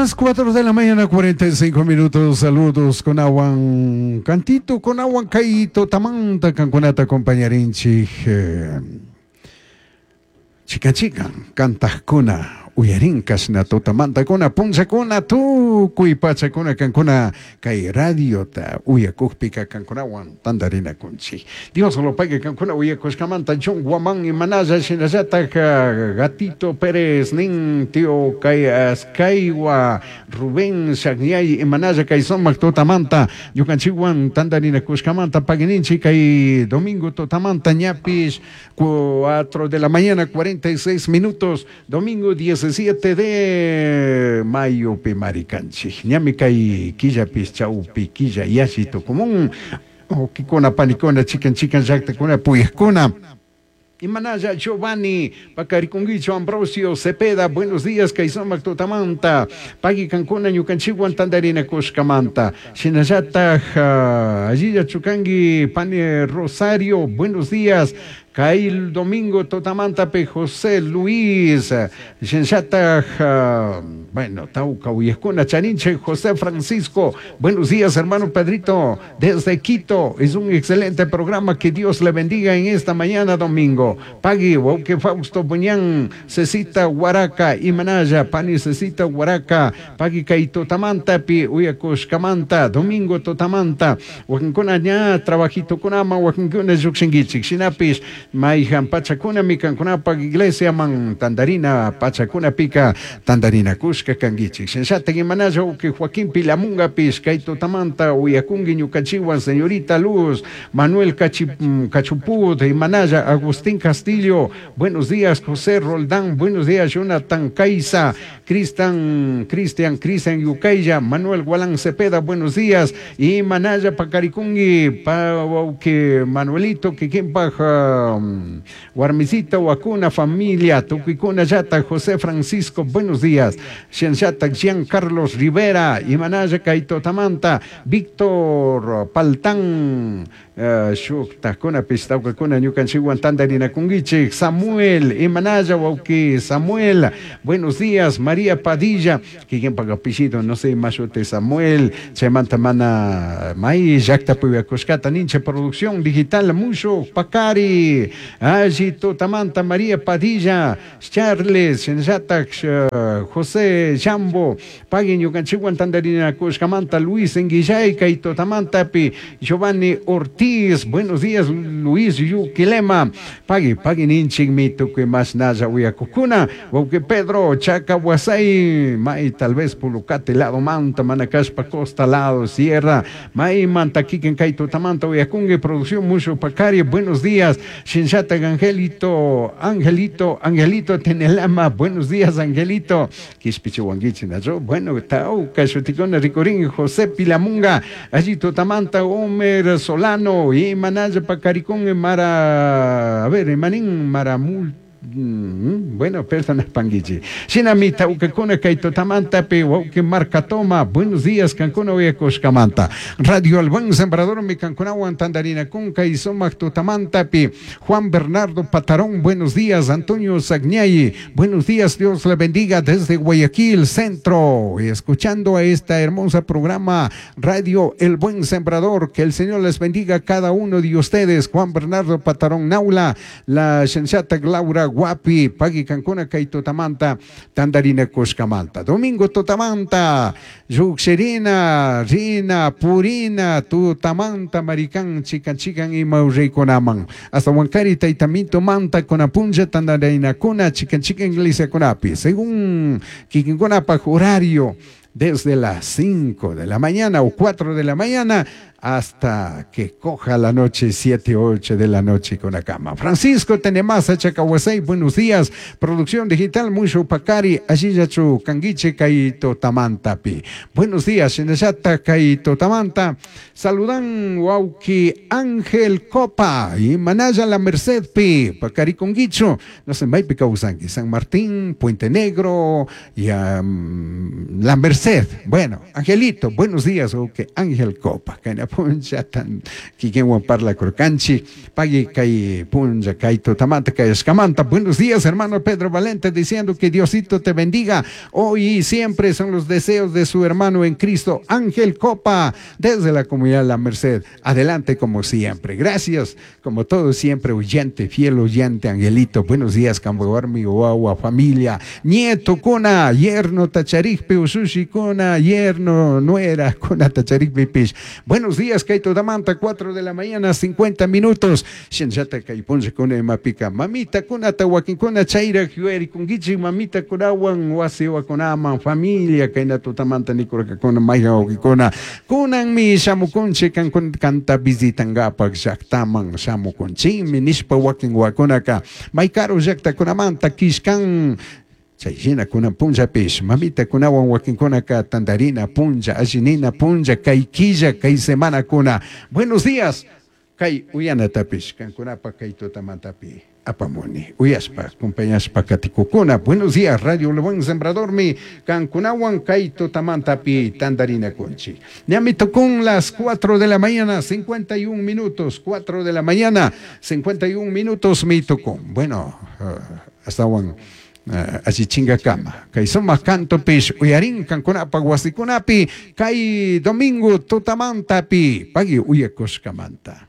Las 4 de la mañana, 45 minutos. Saludos con awan cantito, con awan kaito, tamanta, kankunata acompañarinchik. Chikan chikan, kantajkuna, uyarinkas na tutamantakuna, punllakuna, tukuy pachakuna kankuna, kay radiota uyakukpika kankunawan tantarinakunchik. Dios lo pague kankuna uyakushkamanta, John Guamán imanalla shinallatak Gatito Pérez nin tío kay Askaiwa Rubén Shagñay imanalla kay sumak tutamanta ñukanchikwan tantarinakushkamanta paguininchik kay domingo tutamanta ñapish 4 de la mañana 46 minutos, domingo 17 de mayo pimarikanchik ñami kay killapis chawpi killa yalli tukumun wawkikuna panikuna chikan chikan llaktakuna puyakuna. Imanalla Giovanni Pacarikunguicho Ambrosio Cepeda, buenos días, kay sumak tutamanta, pagui kankuna ñukanchikwan tantarinakushkamanta, shinallataj allilla chukangi pani Rosario, buenos días, kay domingo tutamantapi José Luis, shinallataj bueno, tauka uyajkuna chaninche José Francisco, buenos días hermano Pedrito, desde Quito, es un excelente programa, que Dios le bendiga en esta mañana domingo. Pagui, wauke Fausto Buñán, Cecita Huaraca, Imanaya, Pani Cecita Huaraca, Pagui kay tutamantapi, uyakushkamanta, domingo tutamanta, wakinkuna ña trabajitokunama, wakinkuna llukshinkichik, shinapish, mayhan pachakuna mikankunapak iglesia man tandarina pachakunapika tandarina kushka kankichik. Shinallatak imanalla wauki Joaquín Pilamungapish, kay tutamanta uyakunki ñukanchikwan, señorita Luz, Manuel Cachuput, imanalla Agustín Castillo, buenos días José Roldán, buenos días Jonathan Caiza, Cristian, Cristian, Cristian Yucaya, Manuel Gualán Cepeda, buenos días, y Manaya Pacarikungi, pa, que Manuelito, Kikimpa, Guarmicita, Huacuna, familia, Tucuicuna, Yata, José Francisco, buenos días, Xianchata, Jean Carlos Rivera, y Manaya Kaito Tamanta, Víctor Paltán, shuktakuna pishtawkakuna ñukanchikwan tantarinakunkichik, Samuel, Imanaya wawki Samuel, buenos días, María Padilla, kikinpak apellido, no sé, mashuti Samuel, chaymanta mana may llaktapi uyakushkata ninche producción digital mushu Pacari, alli tutamanta María Padilla, Charles, shinallatak José Jambo, pagui ñukanchikwan tantarinakushkamanta, Luis Enguillay, kay tutamantapi, Giovanni Ortiz, buenos días, Luis Yuquilema, pagui, pagui ninchikmi tukuy mashnalla uyakukuna, wawqi Pedro, Chaca Huasay, may tal vez Pulucate lado manta, manakashpa costa lado, sierra, may manta kikin kay tutamanta uyakunki, producción mushu Pacari, buenos días, Shinchata Angelito, Angelito, Angelito Tenelama, buenos días, Angelito, Quishpichihuanguichi, nacho, bueno, tauka, shutikuna, ricurín, José Pilamunga, allí tutamanta, Homer Solano, y Manaya Pacaricún, Mara, a ver, Manín, Maramul, bueno, perdona, Panguichi. Shinami taucacuna kay tutamantapi, wauki marcatoma, buenos días, Cancuna uyakushkamanta. Radio El Buen Sembrador, mi Cancunawan tandarina kunka y sumak tutamantapi. Juan Bernardo Patarón, buenos días. Antonio Sagñay, buenos días, Dios le bendiga desde Guayaquil Centro. Y escuchando a esta hermosa programa Radio El Buen Sembrador, que el Señor les bendiga a cada uno de ustedes. Juan Bernardo Patarón Naula, la Shenshata Laura Guapi, Pagui Cancuna, kay tutamanta, tandarina kushkamanta. Domingo tutamanta, Yuxerina, Rina, Purina, tutamanta, Maricán, Chican, Chican y Maurriconaman. Hasta Huancari, Taitamito, Manta, Conapunja, Tandarina, Cuna, Chican, Chican, Iglesia, Conapi. Según Kikinconapa, horario, desde las 5 de la mañana o 4 de la mañana hasta que coja la noche, 7 o 8 de la noche con la cama. Francisco Tenemasa, Chacahuasay, buenos días. Producción digital, Mushu Pacari, Allillachu, Canguiche, Kaito Tamantapi. Buenos días, Shinashata, Kaito Tamanta. Saludan, Wauki Ángel Copa y Manaya La Merced Pi, Pacari Conguicho, no sé, Maipi Causanqui, San Martín, Puente Negro y La Merced. Bueno, Angelito, buenos días, Wauki Ángel Copa. Punllata kikinwan parlakurkanchik. Pagui kay punlla kay tutamanta kayashkamanta. Buenos días, hermano Pedro Valente, diciendo que Diosito te bendiga hoy y siempre, son los deseos de su hermano en Cristo, Ángel Copa, desde la comunidad La Merced. Adelante como siempre. Gracias, como todo siempre, oyente, fiel oyente, Angelito. Buenos días, Camboarmi, Guagua, familia, nieto, kuna, yerno, tacharikpi, usushi, kuna, yerno, nuera, kuna, tacharikpi, pish. Buenos días, kay tutamanta, 4 de la mañana, 50 minutos. Shinllata kay punlla kuna imapika, mamita kunata wakinkuna chayrak yuyarikunkichik mamita kunawan wasi wakunaman familia kayna tutamanta nikurkakuna mayhan wawkikuna kunanmi shamukunchik kankun kanta visitankapak llaktaman shamukunchikmi nishpa wakin wakunaka may karu llaktakunamanta kishkan. Chay hina kunan punllapish mamita kunawan wakinkunaka tandarina punlla allinina punlla kay killa kay semanakuna. Buenos días, kay uyanatapish kankunapa kay tutamantapi apamuni uyashpa acompañashpa katikukuna. Buenos días, Radio El Buen Sembradormi kankunawan kay tutamantapi tandarina kunchik. Ñami tukun las 4 de la mañana 51 minutos, 4 de la mañana 51 minutos mi tukun. Bueno, astawan allichinkakama kay sumaq kantupish uyarin kankunapaq wasikunapi kay domingo tutamantapi pagui uyakushkamanta.